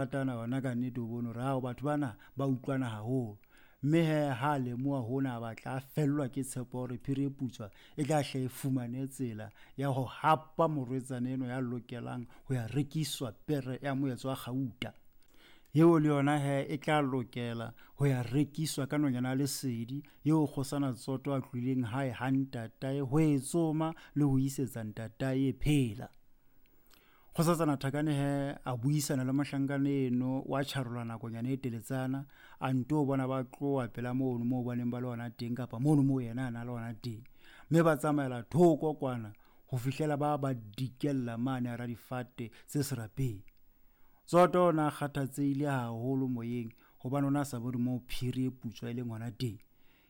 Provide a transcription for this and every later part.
Ratana ona ka nnete o bone hore ao batho bana ba utlwana haholo. Mme he ha a lemoha hona a batla a fellwa ke tshepo hore phiri e putswa e tla hle e fumane tsela ya ho hapa morwetsana eno ya lokelang ho ya rekiswa pere ya moetso wa kgauta. Eo le yona he e tla lokela ho ya rekiswa ka nonyana ya lesedi eo kgosana Tsoto a tlohileng hae ha ntatae ho e tsoma le ho isetsa ntatae e phela. Kgosatsana Thakane he a buisana le mohlankana eno wa tjharola nakonyana e teletsana, a nto bona ba tloha pela mono moo ba neng ba le hona teng kapa mono moo yena a na le hona teng, mme ba tsamaela thoko kwana ho fihlela ba ba dikella mane hara difate tse serapeng. Tsoto o ne a kgathatsehile haholo moyeng hobane o ne a sa bone moo phiri e putswa e leng hona teng.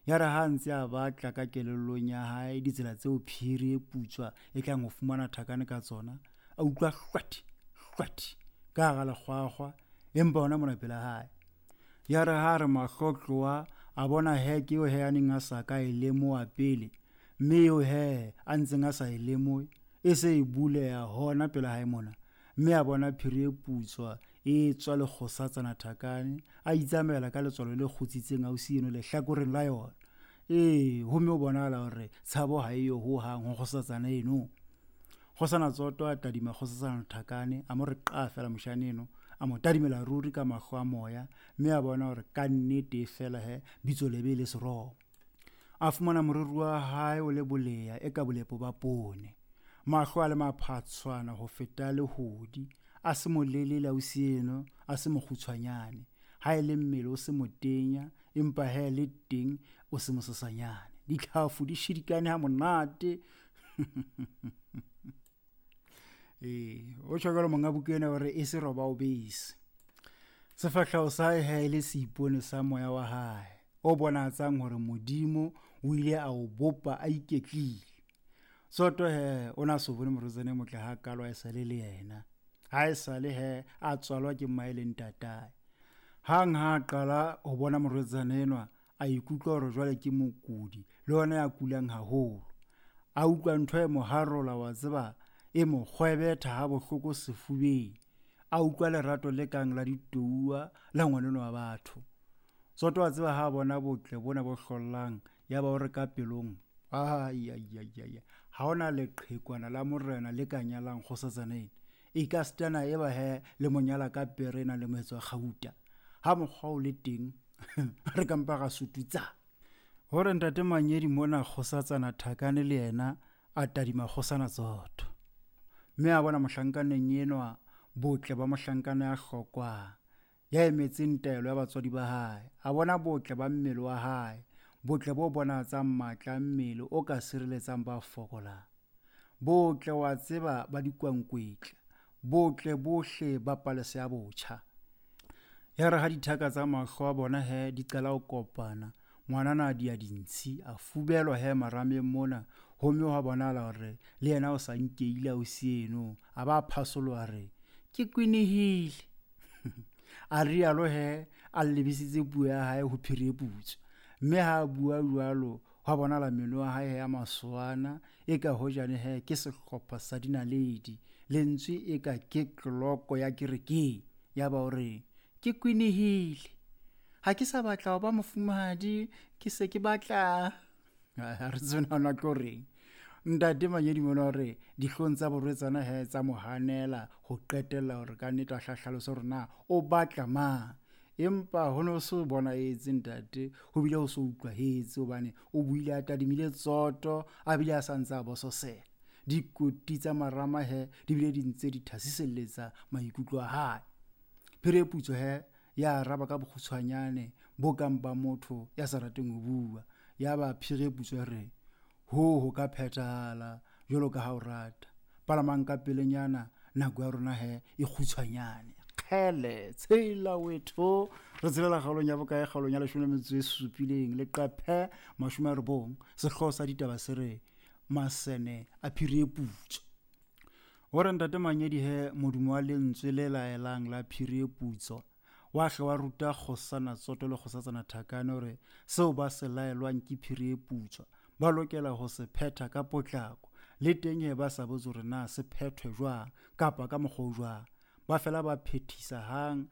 Ya re ha a ntse a batla ka kelellong ya hae ditsela tseo phiri e putswa e tlang ho fumana Thakane ka tsona, a utlwa hlwathi hlwathi ka hara lekgwakgwa, empa hona mona pela hae. Ya re ha a re mahlo tloha, a bona heke eo he a neng a sa ka e lemoha pele, mme eo he a ntseng a sa e lemohe e se e buleha hona pela hae mona, mme a bona phiri e putswa e tswa le kgosatsana Thakane, a itsamaela ka letswalo le kgutsitseng ausi eno lehlakoreng la yona. Ee, homme o bonahala hore tshabo ha eyo hohang ho kgosatsana eno. Kgosana Tsoto a tadima kgosatsana Thakane, a mo re qa feela moshane eno, a mo tadimela ruri ka mahlo a moya, mme a bona hore ka nnete feela he bitso lebe le seromo. A fumana moriri wa hae o le boleya e ka bolepo ba poone, mahlo a le maphatshwana ho feta lehodi, a se molelele ausi eno, a se mokgutshwanyane, ha e le mmele o se motenya, empa he le teng o se mosesanyane, ditlhafu di shidikane ha monate. Ee, o tjho jwalo monga buka ena hore e se roba o bese. Sefahleho sa hae he e le seipone sa moya wa hae o bonahatsang hore Modimo o ile a o bopa a iketlile. Tsoto he o na so bone morwetsana e motle hakalo ha e sale le yena, ha e sale he a tswalwa ke mmae le ntatae. Hang ha a qala ho bona morwetsana enwa, a ikutlwa hore jwale ke mokudi le yona ya kulang haholo. A utlwa ntho e mo harola, wa tseba, e mo kgwebetha ha bohloko sefubeng. A utlwa lerato le kang la ditouwa la ngwaneno wa batho. Tsoto a tseba ha a bona botle bona bo hlollang, ya ba o re ka pelong, ai ai ai ai, ha hona leqhekwana la morena le ka nyalang kgosatsana ena. E ka sitana e ba he le mo nyala ka pere e nang le moetso wa kgauta. Ha mokgwa o le teng, re ka mpa ra sututsa. Hore ntate Manyedi mona kgosatsana Thakane le yena a tadima kgosana Tsoto, mme a bona mohlankaneng enwa botle ba mohlankana ya hlokwang, ya emetseng taelo ya batswadi ba hae. A bona botle ba mmele wa hae, botle bo bonahatsang matla a mmele o ka sireletsang ba fokolang, botle wa tseba ba dikwankwetla, botle bohle ba palesa ya botjha. Ya re ha dithaka tsa mahlo a bona he di qala ho kopana, ngwanana a dia dintshi, a fubelwa he marameng mona, homme hwa bonahala hore le yena o sa nkeile ausi eno, a ba phasoloha re ke kwenehile. A rialo he a lebisitse puo ya hae ho phiri e putswa, mme ha a bua jwalo hwa bonahala meno a hae he a masoana, e ka hojane he ke sehlopha sa dinaledi, lentswe e ka ke tloloko ya kerekeng. Ya ba o re ke kwenehile, ha ke sa batla ho ba mofumahadi, ke se ke batla. Ha re tsebe na ona tlo reng. Ntate Manyedi mona hore dihlong tsa borwetsana he tsa mo hanela ho qetella hore ka nnete a hlahlalose hore na o batla mang. Empa ho no se bonahetse ntate, ho bile ho se utlwahetse hobane o buile a tadimile Tsoto, a bile a sa ntse a bososela. Dikoti tsa marama he di bile di ntse di thasiselletsa maikutlo a hae. Phiri e putswa he ya araba ka bokgutshwanyane bo kang ba motho ya sa rateng ho bua. Ya ba phiri e putswa re, ho ho ka phethahala jwalo ka ha o rata. Palamang ka pelenyana, nako ya rona he e kgutshwanyane. Kgele, tshela wetho. Re tshelela kgaolong ya bokae? Kgaolong ya 17, leqephe 90. Sehlooho sa ditaba se re masene a phiri e putswa. Hore ntate Manyedi he modumo wa lentswe le laelang la phiri e putswa wa hle wa ruta kgosana Tsoto le kgosatsana Thakane hore seo ba se laelwang ke phiri e putswa ba lokela ho se phetha ka potlako, le teng he ba sa botse hore na se phethwe jwang kapa ka mokgwa o jwang. Ba fela ba phethisa hang.